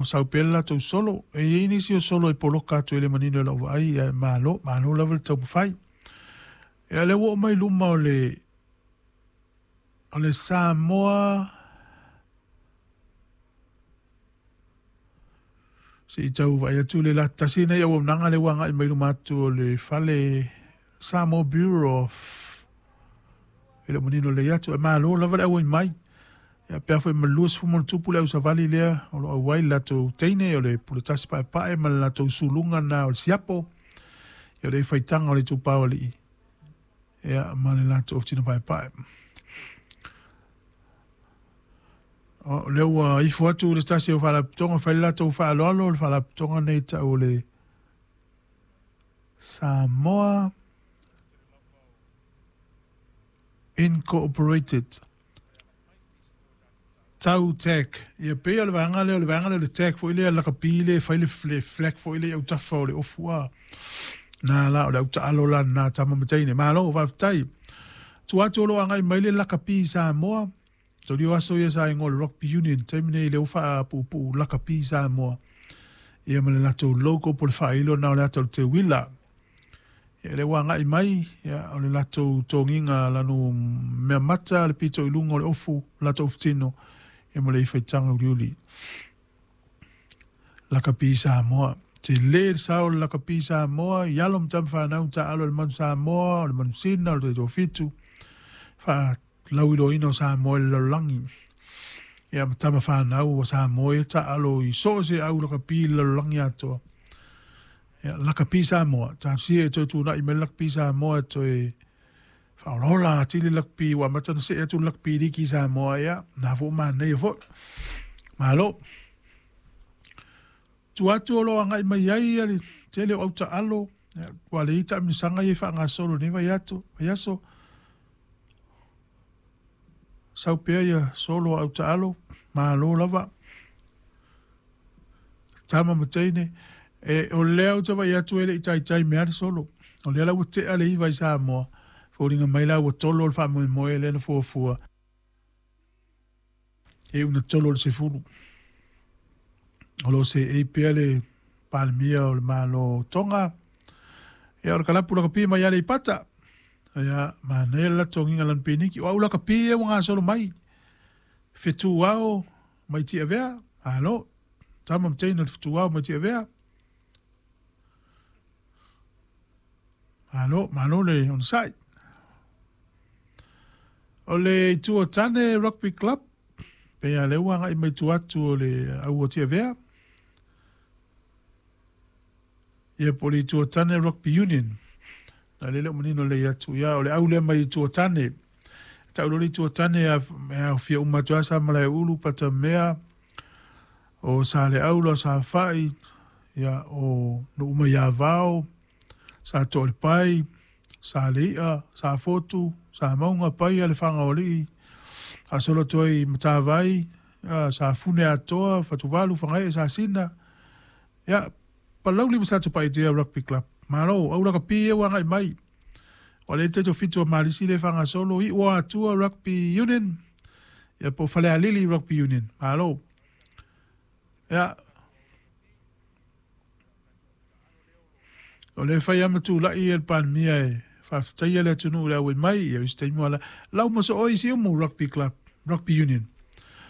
Sau pea le latou solo. E i ai nisi o solo e poloka atu e le manino i lau vaai, ae malo, malo lava le taumafai. Ia, lea ua oo mai luma o le, o le Samoa, se i tau vaai atu le tasi lenei auaunaga lea ua agai mai luma atu o le fale Samoa Bureau of, e le o manino lelei atu, ae malo lava le auai mai. Ia, pe a foi ma le 20 plus le ausavali lea o lo o auai le latou teine o le puletasi paepae ma le latou suluga lena o le siapo, ia o le faitaga o le itupa o alii, ia, ma le latou aufitino paepae. O lea ua ifo atu le tasi o faalapotopotoga fai le latou faaaloalo, le faalapotopotoga lenei tau o le Samoa Incorporated. Tau tag. Ia pei o le vaega lea, o le vaega lea o le tag foi lea lakapi lea e fai le flag foi lea i autafa o le ofu a. Na la, o le au taalo la na tama ma teine. Malo, faafetai. Tua atu o lo o agai mai le lakapi Samoa. Tolio aso ia sa igoa o le Rugby Union. Taimi nei lea ua faapuupuu lakapi Samoa. Ia ma le latou logo po o le faailo na o le ata o le teuila. Ia lea ua agai mai, ia, o le latou togiga lanu mea mata le pito i luga o le ofu, latou futino, ia ma le ifaitaga uliuli. Lakapi Samoa. Te le le sao o le lakapi Samoa, i alo ma tama whanau taalo le manu Samoa, o le manu sina, o le taitoafitu, faalauiloaina o Samoa i le lalolagi. Ia ma tama whanau o Samoa e taalo i so o se au lakapi i le lalolagi atoa. Ia, lakapi Samoa. Talosia e toe tunai mai le lakapi Samoa e toe faaolaola atili le lakapi ua amata ona see atu le lakapi liki Samoa, ia, na fua manaia foi. Malo. Tua atu o lo o agai mai ai le tele o autaalo, ia, ua leai taamilosaga ia e faagasolo i lenei vaiaso. Sau pea ia solo a autaalo, malo lava. Tama ma teine, e, o lea ou te vaai atu e le i taitai mea le solo. O lea la ua tea le 9 i Samoa, foliga mai la ua tolo le faamoemoe lea na fuafua. E una tolo le 10. O lo o seei pea le Palemia o le Malo o Tonga. Ia, o le kalapu lakapi mai Aleipata. Ia, manaia le latou togiga lanu piniki. O au lakapi ia ua gasolo mai. Fetuao mai Tiavea. Alo. Tama ma teine o le fetuao mai Tiavea. Malo, malo le onosai. O le Itu o Tane Rugby Club, pei a lea ua agai mai tua atu o le au o Tiavea. Ia po o le Itu o Tane Rugby Union. Na le o manino lelei atu. Ia, o le au lea mai Itu o Tane. Tau loa le Itu o Tane e aofia uma atu ai Samalaeulu, Patamea, o Saleaula, o Safai, ia, o Nuumaiavao, Sa Toalepai, Sa Leia, Sa Fotu, Sa Mauga, Paia, le Fagaoalii, faasolo atu ai Matavai, Sa Fune Atoa, Fatuvalu, Fagaee, Sasina, ia, Palauli ma Satupaitea Rugby Club. Malo, au lakapi ia ua agai mai. Ua le taitoafitu o Malisi le faagasolo, Iu o Atua Rugby Union, ia po o Falealili Rugby Union. Malo. Ia, o le fai lava ma tulai le Palemia e faafetaia le atunuu i le auai mai, ia o isi taimi ua lau mosooi Siumu Rugby Club, Rugby Union.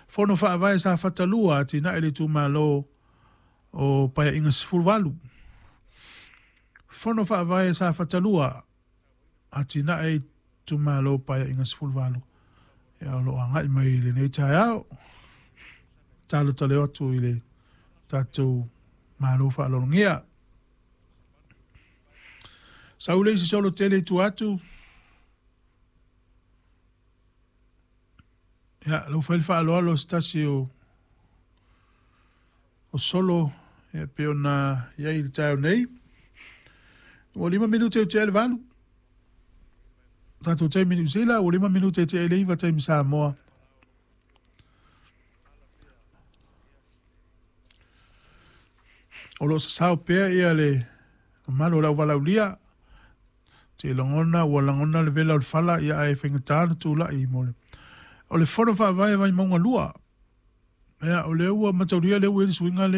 Fono faavae Safata 2 atinae le itumalo o Paeaiga 18. Fono faavae Safata 2 atinae itumalo Paeaiga 18. Ia, o lo o agai mai i lenei taeao. Talo taleo atu i le tatou malo faaaloalogia. Sau le isi solo tele i tua atu. Ia, lau fai le faaaloalo se tasi o solo, ia, pei ona i ai i le taeao nei. Ua 5 minute i tea le 8. Tatou taimi Niu Sila, ua 5 minute i tea le 9 taimi Samoa. O lo o sasao pea ia le mamalu o le auvalaulia. Te lagona, ua lagona le vela o le fala, ia ae faigata na tulai mo le. O le fono faavae Vaimauga 2. Ia, o lea ua mataulia lea ua i ai le suiga lea.